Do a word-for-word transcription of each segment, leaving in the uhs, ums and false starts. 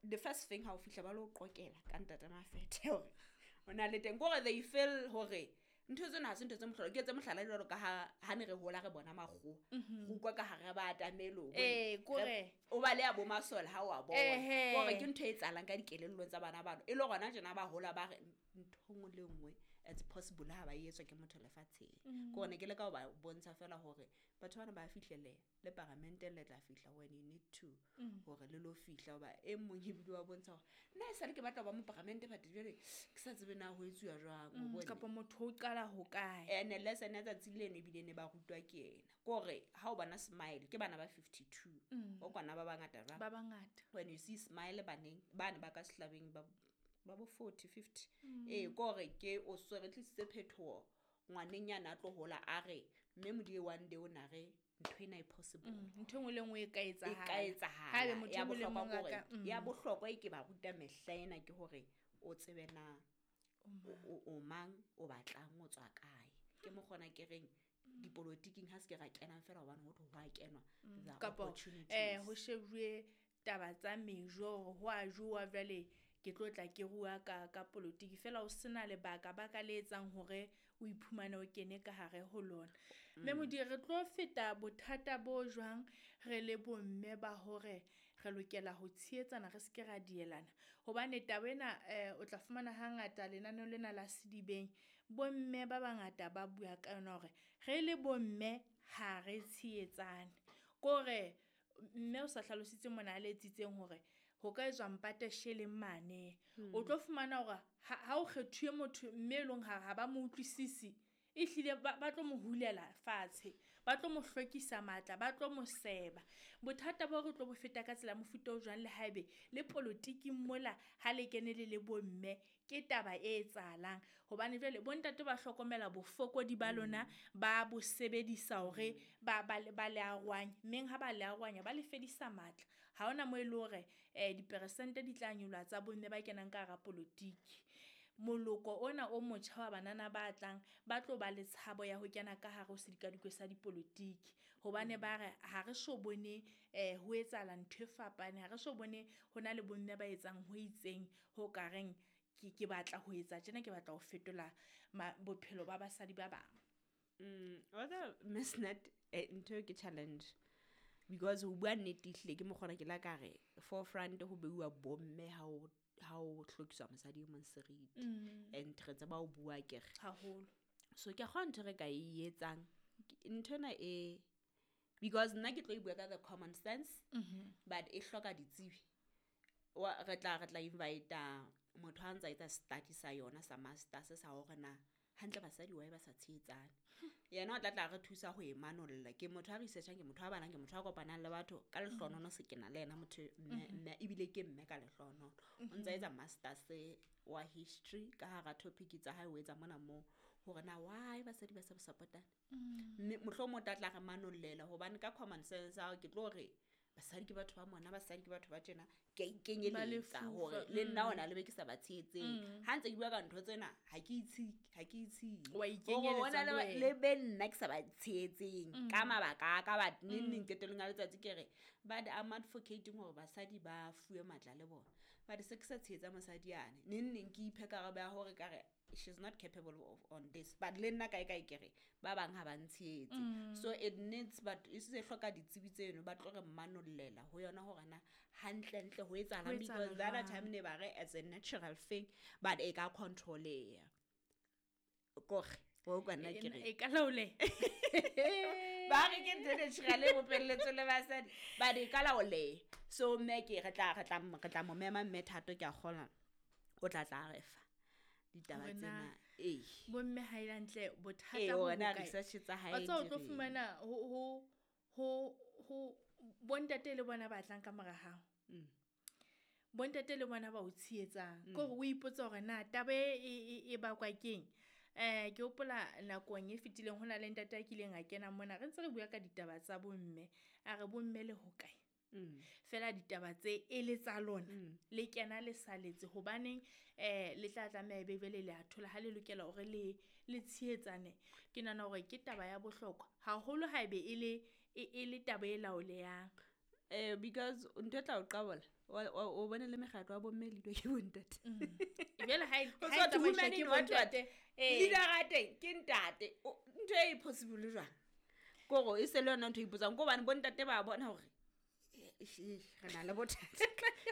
The first thing ha o fihla ba lo qokela ka ntate Mafethe hore o na le teng, kore they feel hore ntho tsena ha se ntho tse mohlolo. Ke tse mohlala jwalo ka ha ha ne re hola re bona makgowa, re utlwa ka hare ba atamelo. Ee, kore. O ba le ya bo masole ha o a bona. Ehe. Kore ke ntho e etsahalang ka dikelellong tsa bana bano, e le gona tjena ba hola ba re ntho nngwe le nngwe it's possible ha ba e etswa ke motho lefatsheng. Ke hore ne ke leka ho ba bontsha fela hore batho bana ba fihleleha le paramenteng, le tla fihla when you need to, hore le lo fihla. Hoba e mong ebile wa bontsha hore nna e sale ke batla ho ba moparamente, but jwale ke sa tsebe na ho etsuwa jwang, o bone. Kapa motho o qala ho kae. Ene lesson ya tsatsi leno ebile ne ba rutwa ke yena, ke hore ha o bona smile ke bana ba fifty-two, o kwana ba bangata jwang? Ba bangata. When you see smile baneng bane ba ka sehlabeng ba ba bo forty fifty, ee, ke hore ke o so re tlisitse phetoho ngwaneng yana a tlo hola a re mme Modie one day o na re ntho ena e possible. Mm, ntho e nngwe le nngwe e ka E ka etsahala. etsahala. Haebe motho Ya e mong le bohlokwa mong a ke hore- ka- mm. ya bohlokwa e ke ba ruta mehla ena ke hore o tsebe na o, o, o mang, o batlang, o tswa kae. Ke mo kgona ke reng dipolotiking ha se ke ra kenang fela hobane ho thwe ho a kenwa. There are Kapa, opportunities. eh, ho shebuwe taba tsa mejo hore ho a jowa jwale ke tlo tla ke rua ka, ka polotiki fela, o sena lebaka ba ka le etsang hore o iphumane o kene ka hare ho lona. Mme Modie, re tlo feta bothata bo jwang re le bomme ba hore re lokela ho tshehetsana, re se ke ra dielana? Hobane taba ena, eh, o tla fumana hangata lenaneo lena la Sedibeng, bomme ba bangata ba bua ka yona hore re le bomme ha re tshehetsane. Kore mme o sa hlalositse mona a le etsitseng hore ho ka etswa mpate sheleng mane. O tlo fumana hore ha, ha o kgethuwe motho mme e leng ha, ha ba mo utlwisisi, ehlile ba, ba tlo mo hulela fatshe, ba tlo mo hlwekisa matla, ba tlo mo seba. Bothata bo re tlo bo feta ka tsela mofuta o jwang le haebe le polotiking mola ha le kene le le bomme, ke taba e etsahalang. Hobane jwale bontate ba hlokomela bofokodi ba lona, ba bo sebedisa hore ba, ba, ba le arohanye. Mmeng ha ba le arohanya, ba le fedisa matla. Ha hona moo e le hore, eh, diperesente di tla nyoloha tsa bomme ba kenang ka hara polotiki. Moloko ona o motjha wa banana ba tlang ba tlo ba le tshabo ya ho kena ka hare ho sedikadikwe sa dipolotiki, hobane ba re ha re so bone, eh, ho etsahala ntho e fapaneng, ha re so bone ho na le bomme ba etsang ho itseng ho ka reng ke, ke batla ho etsa tjena, ke batla ho fetola ma-, bophelo ba basadi ba bang. Mm, wa tseba, Miss Nat, eh, ntho eo ke challenge because ho bua nnete ehlile ke mokgona ke la ka re forefront ho beuwa bomme ha o, ha o hlokiswa mosadi e mong seriti. Mm. And re tseba ho bua ke re. Haholo. So ke a kgona ntho e re ka e etsang. Ke-, ntho ena e, because nna ke tlo e bua ka the common sense, Mm-hmm. but e hloka ditsebi. Wa, re tla, re tla invite-a motho ha ntsa etsa study sa yona sa masters sa hore na hantle basadi why ba sa tshehetsane. Yena o tla tla re thusa ho e manolla. Ke motho a researchang, ke motho a balang, ke motho a kopanang le batho. Ka lehlohonolono se ke na le yena motho mme, Mm-hmm. mme, ebile ke mme ka lehlohonolono. O ntsa etsa masters wa history ka hara topic tsa hae, o etsa mona moo hore na why basadi ba sa support-ane. Mm. Mme mohlomong o tla tla re manollela, hobane ka common sense ya hao ke tlo re basadi ke batho ba mona, basadi ke batho ba tjena, ke a ikenyeletsa Ba lefufa, hore le nna mm. hona le be ke sa ba tshehetseng. Mm. Ha ntse ke bua ka ntho tsena, ha ke itshe, ha ke itshe. Wa Hore ikenyeletsa hona le le ba, wena. le be nna ke sa ba tshehetseng Mm. ka mabaka a ka, but neng Mm. neng qetellong ya letsatsi ke re, but I'm advocating hore basadi ba fuwe matla le bona. But se ke sa tshehetsa mosadi yane, neng neng ke iphe karabo ya hore ka re she's not capable of on this, but le nna kae kae ke re ba bang ha ba ntshehetse. Mm. So it needs, but e se hloka ditsebi tseno ba tlo re manollela ho yona hore na hantlentle ho etsahalang, Ho etsahala because the other jwang? time ne ba re it's a natural thing, but e ka control-eya. Kore, o kwa nna ke re. E ka laoleha. Ba re ke ntho e natural e bopelletswe le basadi, but e ka laoleha. So mme ke re tla, re tla, re tla mo mema mme Thato, ke a kgolwa o tla tla re fa ditaba Hore na tsena. Ee. Bomme ha e le hantle, bothata Ee, bo hore na bokae? research tsa hae Wa tseba o di tlo reng? fumana ho, ho, ho, ho bontate le bona ba tlang ka mora hao. Mm. Bontate le bona ba o tshehetsang. Mm. Ke hore o ipotse hore na taba e, e, e, e bakwa keng. Eh, ke hopola nakong e fetileng ho na le ntate a kileng a kena mona, re ntse re bua ka ditaba tsa bomme. A re bomme le hokae? Mm. Fela ditaba tse e le tsa lona, Mm. le kena le saletse, hobaneng, eh, le tla tlameha ebe jwale le a thola ha le lokela hore le, le tshehetsane. Ke nahana hore ke taba ya bohlokwa haholo haebe e le, e, e le taba e laolehang. Eh, because ntho e tla o qabola, O bone le mekgatlo wa bomme le ke bontate. Jwale ha e tsamaiswa ke bontate. Leader ya teng ke ntate. Ntho e possible jwang? Kore e se le yona ntho e ipotsang ko hobane bontate ba bona hore re na le bothata.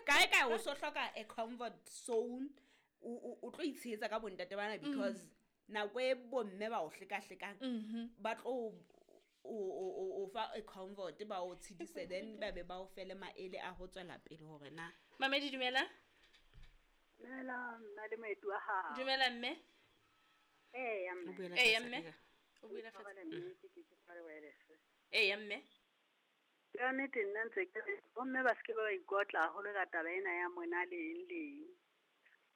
Kae kae o so hloka a comfort zone, o tlo itshehetsa ka bontate bana because nako e bomme ba o hlekahlekang ba tlo o fa a comfort ba o tshedise then ba be ba o fele maele a ho tswela pele hore na. Mamedi dumela. Dumela nna le moeti wa hao. Dumela mme. Eh ya mme. Eh ya mme. O buela fatshe. Eh ya mme. Ka nnete nna ntse ke re bomme ba seke ba ikotla haholo ka taba ena ya mona le eng le eng.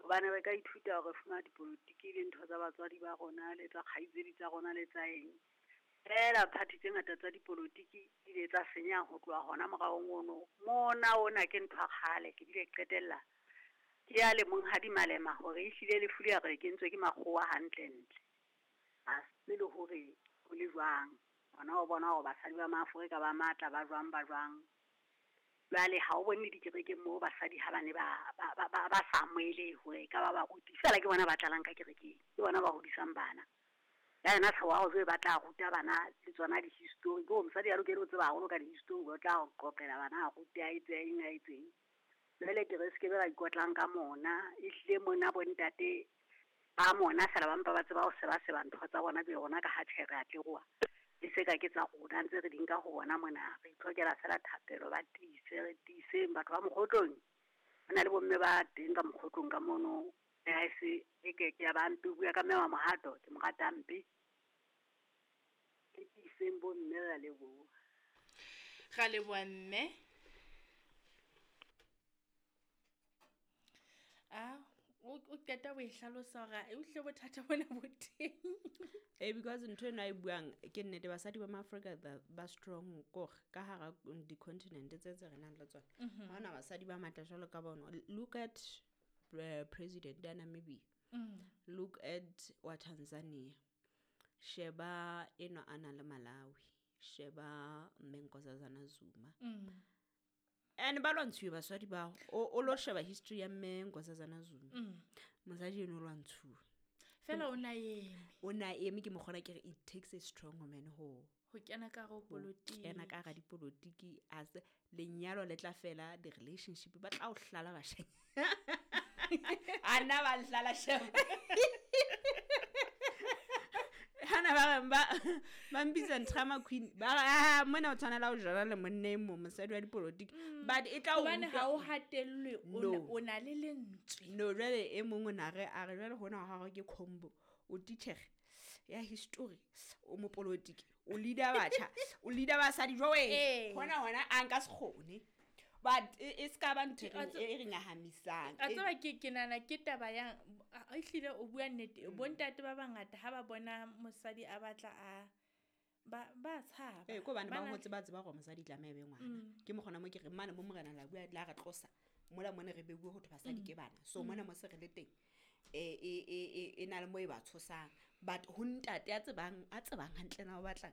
Hobane re ka ithuta hore fumana dipolotiki le ntho tsa batswadi ba rona le tsa kgaitsedi tsa rona le tsa eng. Fela party tse ngata tsa dipolotiki di ile tsa senya ho tloha hona moraong ono. Mona ona ke ntho ya kgale ke bile qetella. Ke ya le monghadi Malema hore ehlile lefu le re kentswe ke makgowa hantle ntle. A se le hore ho le jwang. Ona o bona hore basadi ba Maafrika ba matla ba jwang ba jwang. Jwale ha o bone dikerekeng moo basadi ha ba ne ba ba ba ba sa amohele hore ka ba baruti. Fela ke bona ba tlalang ka kerekeng. Ke bona ba hodisang bana. Ya yena tshewa o ba tla ruta bana le tsona di-history. Ke mosadi a lokele ho tseba haholo ka di-history, o tla qoqela bana a rute a etse eng a etseng. Jwale ke re se ke be ba ikotlang ka mona. Ehlile mona bontate ba mona fela ba mpa ba tseba ho seba seba ntho tsa bona be rona ka ha tjhe re a tleroha. E se ka ke tsa rona ntse re di nka ho bona mona. Re itlhokela fela thapelo ba tiise re tiiseng batho ba mokgotlong. Ho na le bomme ba teng ka mokgotlong ka mono. Ha e se e ke ke ya ba mpe bua ka mme wa Mohato ke mo rata mpe. Ke tiiseng bomme ra leboha. Ra leboha mme. Ah, o qeta ho e hlalosa hore e utlwe bothata bona bo teng. Eh because ntho ena e buang ke nnete basadi ba Maafrika ba strong kore ka hara di-continent tse tse re nang le tsona. Ha hona basadi ba matla jwalo ka bona. Look at uh, president ya Namibia. Mm. Look at wa Tanzania. Sheba eno ana le Malawi. Sheba mme Nkosazana Zuma. Mm. And ba lwantshuwe basadi bao. O lo sheba history ya mme Nkosazana Zuma. Mm. Mosadi eno o lwantshuwe. Fela o na eme. O na eme ke mokgona ke re it takes a strong woman ho ho kena ka ho polotiki. Kena ka ga dipolotiki as lenyalo le tla fela the relationship ba tla o hlala bashanyana. Ana ba hlala sheba. Hana ba ba ba mpitsa drama queen. Ba ah mona o tshwanela ho jala le monna e mong mosadi wa dipolotiki. But e tla o hobane ha o hatellwe o na le lentswe. No jwale e mong o na re a re jwale hona ha ke combo. O teacher ya history o mopolotiki o leader batjha o leader basadi jwe hona hona a nka se kgone. But e ska ba ntho e re nyahamisang. A tseba ke ke nana ke taba ya ehlile o bua nnete bontate ba bangata ha ba bona mosadi a batla a ba ba tshaba. Eh ko bana ba hotse ba tseba hore mosadi tlameha be ngwana. Ke mokgona mo ke re mane mo morena la bua la re tlosa mola mone re beuwe ho thwe basadi ke bana. So mona mo se re le teng e e e e na le mo e ba tshosang. But ho ntate a tsebang a tsebang hantle na o batlang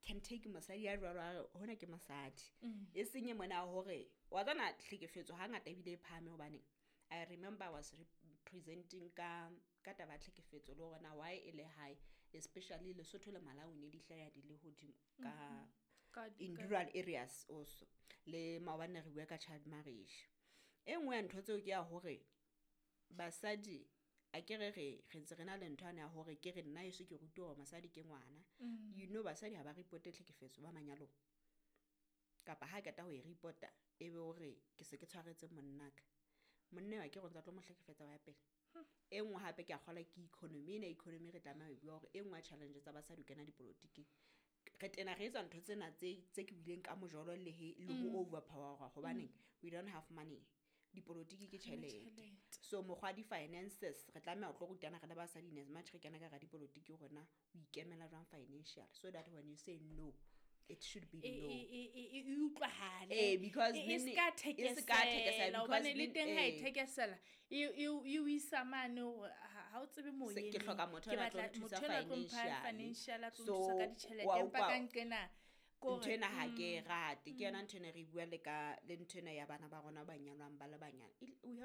can take mosadi ya jwalo a re hona ke mosadi. E senye mona hore wa tsana hlekefetso ha ngata ebile e phahame hobane I remember I was representing ka ka taba hlekefetso le hore na why e le high especially Lesotho le Malawi ne di hlaya di le hodimo ka in rural areas also le maobane re bua ka child marriage. E nngwe ya ntho tseo ke ya hore basadi a ke re re re ntse re na le ntho ya hore ke re nna eso ke rutiwa hore mosadi ke ngwana. You know basadi ha ba reporte tlhekefetso ba manyalong kapa ha qeta ho e reporta e be hore ke se ke tshwaretse monnaka. Monna wa ke re ntse tlo mo hlekefetsa wa ya pele. E nngwe hape ke a kgola ke economy ena economy re tlameha ho bua hore e nngwe ya challenge tsa basadi ho kena dipolotiking. Re tena re etsa ntho tsena tse tse ke buileng ka mojolo le he le ho overpower hobaneng we don't have money. Dipolotiki ke tjhelete. So mokgwa di finances re tlameha ho tlo rutana re le basadi in as much re kena ka ra dipolotiki rona o ikemela jwang financial so that when you say no it should be no. E e e utlwahale. Eh because e ska thekesela hobane le teng ha e thekesela e e o isa mane hore ha o tsebe moyeng. Ke hloka motho a tlo nthusa financial a tlo nthusa ka ditjhelete empa ka nqena Ko Ntho hore- ena ha ke e rate. Ke yona ntho ena re bua le ka le ntho ena ya bana ba rona ba nyalwang ba le banyane. E- We